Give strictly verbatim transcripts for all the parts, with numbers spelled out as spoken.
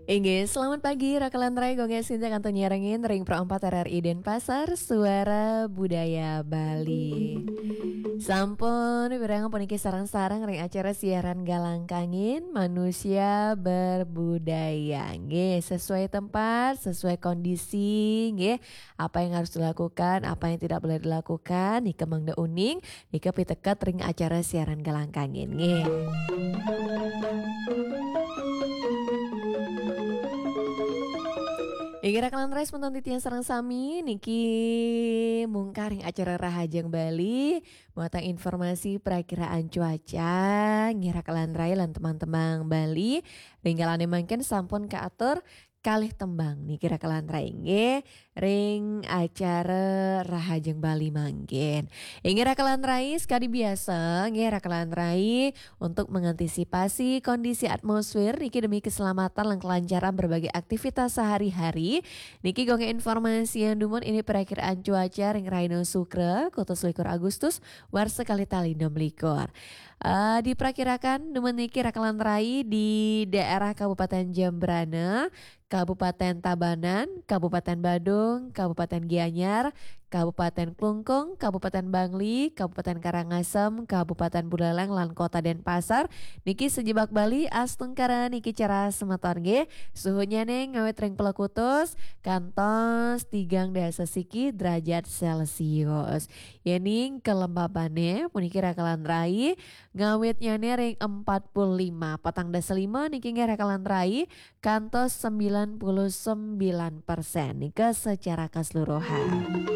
Inggih, selamat pagi, Raka lan Rai, Gung Sinta kantun nyarengin ring Pro empat R R I Denpasar, Suara Budaya Bali. Sampun, pirengang puniki sareng-sareng ring acara siaran Galang Kangin, Manusia Berbudaya. Nggih, sesuai tempat, sesuai kondisi, nggih. Apa yang harus dilakukan, apa yang tidak boleh dilakukan, nika mangda uning, nika piteket ring acara siaran Galang Kangin, nggih. Inggih, Raka lan Rai, semeton titiang sareng sami, niki mungkah ring acara Rahajeng Bali, muatan informasi perakiraan cuaca, nggih, Raka lan Rai lan teman-teman Bali, ring kalane mangkin sampun kaatur kalih tembang niki, Raka lan Rai, nggih, ring acara Rahajeng Bali mangkin. Inggih, Raka lan Rai, sekadi biasa, nggih, Raka lan Rai, untuk mengantisipasi kondisi atmosfer niki demi keselamatan lan kelancaran berbagai aktivitas sehari-hari, niki Gung informasiang dumun indik perakiraan cuaca ring rahina Sukra, kutus likur Agustus, warsa kalih tali enem likur. Eh, diperkirakan dumun niki, Raka lan Rai, di daerah Kabupaten Jembrana, Kabupaten Tabanan, Kabupaten Badung, Kabupaten Gianyar, Kabupaten Klungkung, Kabupaten Bangli, Kabupaten Karangasem, Kabupaten Buleleng, lan Kota Denpasar. Niki sajebag Bali astungkara niki cerah semeton, nggih. Suhunyane ngawit ring pelekutus kantos tigang dasa siki derajat Celcius. Yening kelembabane puniki, Raka lan Rai, ngawitnyane ring empat puluh lima, patang dasa lima niki, nggih, Raka lan Rai, kantos sembilan puluh sembilan persen nika secara keseluruhan.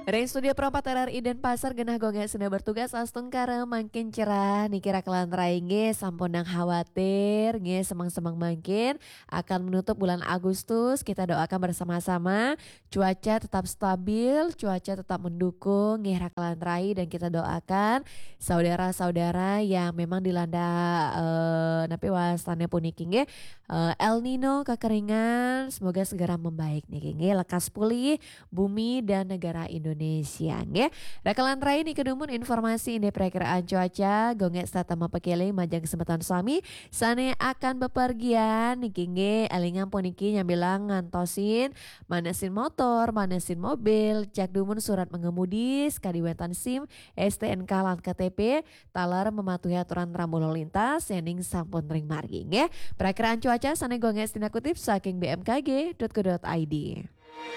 Ring studio Pro empat R R I Denpasar, genah Gung sinda bertugas astungkara mangkin cerah niki, Raka lan Rai, nggih, sampunang khawatir, nggih, semeng-semeng mangkin akan menutup bulan Agustus. Kita doakan bersama-sama cuaca tetap stabil, cuaca tetap mendukung, nggih, Raka lan Rai, dan kita doakan saudara-saudara yang memang dilanda, eh, napi wastane puniki, nggih, eh, El Nino, kekeringan, semoga segera membaik niki, nggih, lekas pulih bumi dan negara Indonesia, nggih. Raka lan Rai, niki dumun informasi indik perakiraan cuaca, Gung setata mapakeling majeng semeton sami sane akan bepergian niki, nggih, elingang puniki nyambilang ngantosin manesin motor, manesin mobil, cek dumun surat mengemudi, sakadi wenten SIM, STNK lan KTP, taler mematuhi aturan rambu lalu lintas, yening sampun ring margi, nggih. Perakiraan cuaca sane Gung tindak kutip saking B M K G dot co dot I D.